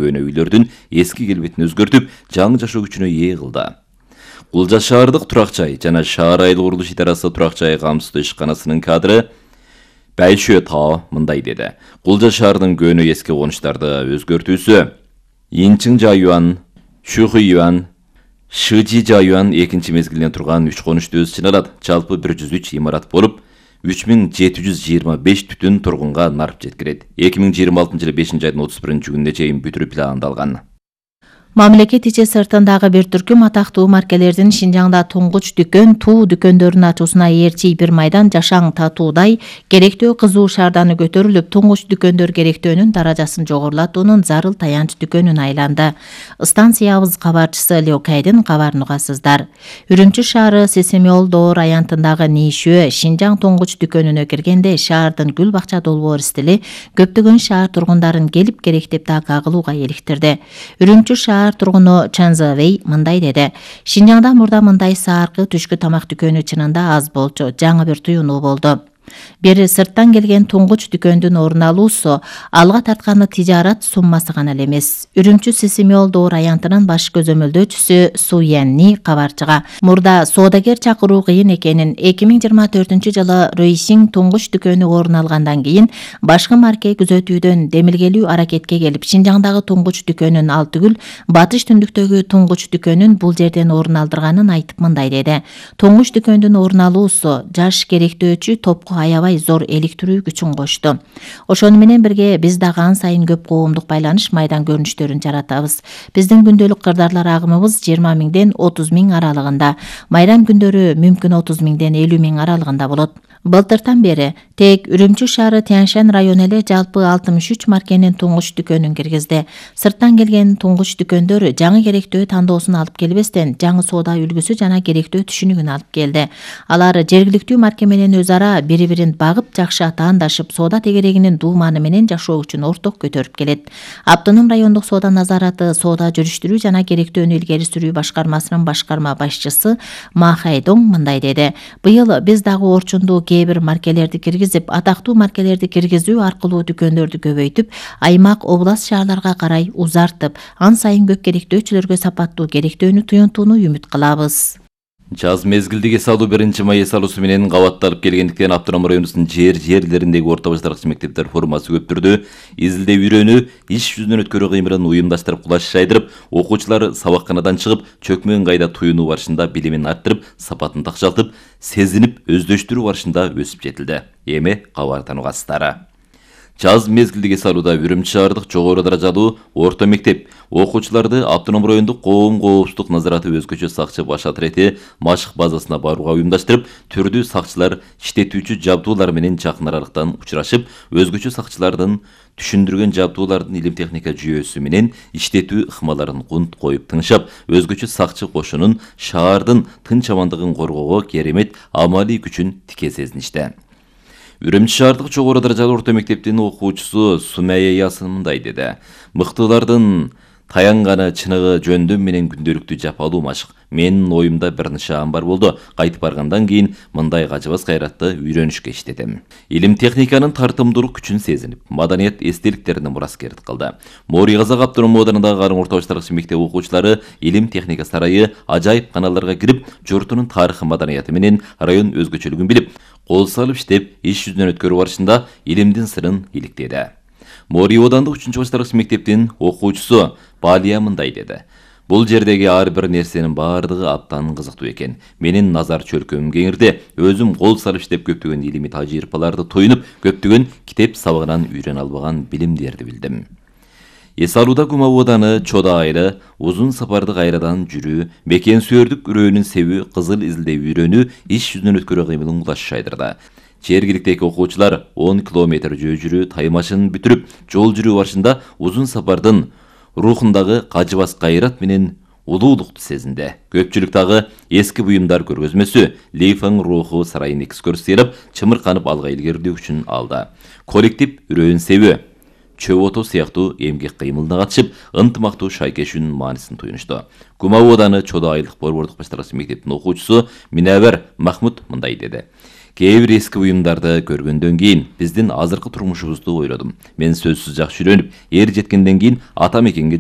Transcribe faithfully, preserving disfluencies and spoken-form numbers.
көөнө үйлөрдүн эски келбетин өзгөртүп, жаңы жашоо күчүнө ээ кылды. Кулжа шаардык турак жай жана шаар айыл курулуш идарасы турак жай камсыздоо ишканасынын кадры Байшө Таа мындай деди. Кулжа шаардын көөнө эски конуштарды өзгөртүүсү Инчиң жайуан, Шухуюан, Шыжи жайуан экинчи мезгилинен турган үч конушту өз ичине алат. Жалпы бир жүз үч имарат болуп, үч миң жети жүз жыйырма беш түтүн тургунга нарып жеткирет. эки миң жыйырма алтынчы жылы бешинчи айдын отуз биринчи күнүнө чейин бүтүрүү пландалган. Мамлекет ичи сыртындагы бир түркүм атактуу маркелердин Шинжаңда туңгуч дүкөн, туу дүкөндөрүнүн ачуусуна ээрчи бир майдан жашаң татуудай керектөө кызуу шаарданы көтөрүлүп, туңгуч дүкөндөр керектөөнүн даражасын жогорулатуунун зарыл таянч дүкөнүнө айланды. Станциябыз кабарчысы Леокайдын кабарын угасыздар. Үрүмчү шаары Сесемиол Доор аянтындагы Нишөө Шинжаң туңгуч дүкөнүнө киргенде шаардын гүл бакча долбоор стили көптөгөн шаар тургундарын келип керектеп да кагылууга иликтирди. Үрүмчү шаар тургуну Чанзавей мындай деди. Шинжаңда мурда мындай сааркы түшкү тамак дүкөнү чынында аз болчу. Жаңы бир туюнуу болду. Бери сырттан келген туңгуч дүкөндүн орун алуусу алга тартканы тижарат суммасы гана эле эмес. Үрүмчү Сесемиол Доор аянтынын баш көзөмөлдөөчүсү Суянни кабарчыга мурда соодагер чакыруу кыйын экенин, эки миң жыйырма төртүнчү жылы Рөйсиң туңгуч дүкөнү орун алгандан кийин башкы марке күзөтүүдөн демилгелүү аракетке келип, Шинжаңдагы туңгуч дүкөнүн ал түгүл, батыш түндүктөгү туңгуч дүкөнүн бул жерден орун алдырганын айтып мындай деди. Туңгуч дүкөндүн орун алуусу жаш керектөөчү топко аябай зор эликтирүү күчүн кошту. Ошону менен бирге биз дагы ан сайын көп коомдук байланыш майдан көрүнүштөрүн жаратабыз. Биздин күндөлүк кырдаарлар агымыбыз жыйырма миңден отуз миң аралыгында, майрам күндөрү мүмкүн отуз миңден элүү миң аралыгында болот. Былтыртан бери тек Үрүмчү шаары Тяньшань району эле жалпы алтымыш үч маркенин туңгуч дүкөнүн киргизди. Сырттан келген туңгуч дүкөндөр жаңы керектөө тандоосун алып келбестен, жаңы соода үлгүсү жана керектөө түшүнүгүн алып келди. Алар жергиликтүү марке менен өз ара бири-бирин багып, жакшы атаандашып, соода тегерегинин дууманы менен жашоо үчүн орток көтөрүп келет. Автоном райондук соода назараты, соода жүрүштүрүү жана керектөөнү илгери сүрүү башкармасынын башкарма башчысы Ма Хайдоң мындай деди. Быйыл биз дагы орчунду кээ бир маркелерди киргизип, атактуу маркелерди киргизүү аркылуу дүкөндөрдү көбөйтүп, аймак, област шаарларга карай узартып, ан сайын көп керектөөчүлөргө сапаттуу керектөөнү туюнтууну үмүт кылабыз. Жаз мезгилдеги салуу биринчи май салуусу менен кабатталып келгендиктен автоном районубуздун жер жерлериндеги орто баштаркычы мектептер формасы көп түрдө изилдөө үйрөнүү, иш жүзүнөн өткөрүү кыймылын уюмдаштырып, кулаш жайдырып, окуучулар сабакканадан чыгып, чөкмө ыңгайда туюнуу барышында билимин арттырып, сапатын такшалтып, сезинип, өздөштүрүү барышында өсүп жетилди. Эми кабардан угасыздар. Жаз мезгилдеги салууда Үрүмчү шаардык жогору даражалуу орто мектеп окуучуларды автоном райондук коом коопсуздук назараты өзгөчө сакчы баш атрети машык базасына барууга уюмдаштырып, түрдүү сакчылар иштетүүчү жабдуулар менен жакын аралыктан учурашып, өзгөчө сакчылардын түшүндүргөн жабдуулардын илим техника жүйөсү менен иштетүү ыкмаларын кунт коюп тыңшап, өзгөчө сакчы кошунун шаардын тынч амандыгын коргоого керемет амалий күчүн тике сезиништи. Үрүмчү шаардык жогору даражалуу орто мектептин окуучусу Сумая Ясын мындай деди. Мыктылардын таянганы чыныгы жөндөм менен күндөлүктүү жапалуу машык. Менин оюмда бир нышаан бар болду. Кайтып баргандан кийин мындай кажыбас кайратты үйрөнүшкө иштедим. Илим техниканын тартымдуулук күчүн сезинип, маданият эстеликтерине мураскердик кылды. Мори Казак автоном оданындагы Арым орто баштаркычы мектеп окуучулары илим техника сарайы ажайып каналдарга кирип, журтунун тарыхы, маданияты менен район өзгөчөлүгүн билип, кол салып иштеп, иш жүзүнөн өткөрүү барышында илимдин сырын иликтеди. Мори одандык үчүнчү баштаркычы мектептин окуучусу Балия мындай деди. Бул жердеги ар бир нерсенин баардыгы абдан кызыктуу экен. Менин назар чөлкөмүм кеңирди. Өзүм кол салып иштеп көптөгөн илимий тажрыйбаларды туюнуп, көптөгөн китеп сабагынан үйрөнө албаган билимдерди билдим. Эсалууда Кумау ооданы Чода айры, узун сапарды кайрадан жүрүү, бекен сүйөрдүк үрөөнүн себүү, кызыл изилдөө үйрөнүү, иш жүзүнөн өткөрүү кыймылын кулаш жайдырды. Жергиликтеги окуучулар он километр жөө жүрүү таймашын бүтүрүп, жол жүрүү барышында узун сапардын рухундагы кажыбас кайрат менен улуулукту сезинди. Көпчүлүк дагы эски буюмдар көргөзмөсү, Лейфаң руху сарайын экскурсиялап, чымырканып алга илгерилөө үчүн алды. Коллектив үрөөн себүү, чөп отоо сыяктуу эмгек кыймылына катышып, ынтымактуу шайкешүүнүн маанисин туюнушту. Кумау ооданы Чода айылдык борбордук баштаркычы мектептин окуучусу Минабар Махмуд мындай деди. Кээ бир эски буюмдарды көргөндөн кийин биздин азыркы турмушубузду ойлодум. Мен сөзсүз жакшы үйрөнүп, эр жеткенден кийин ата мекенге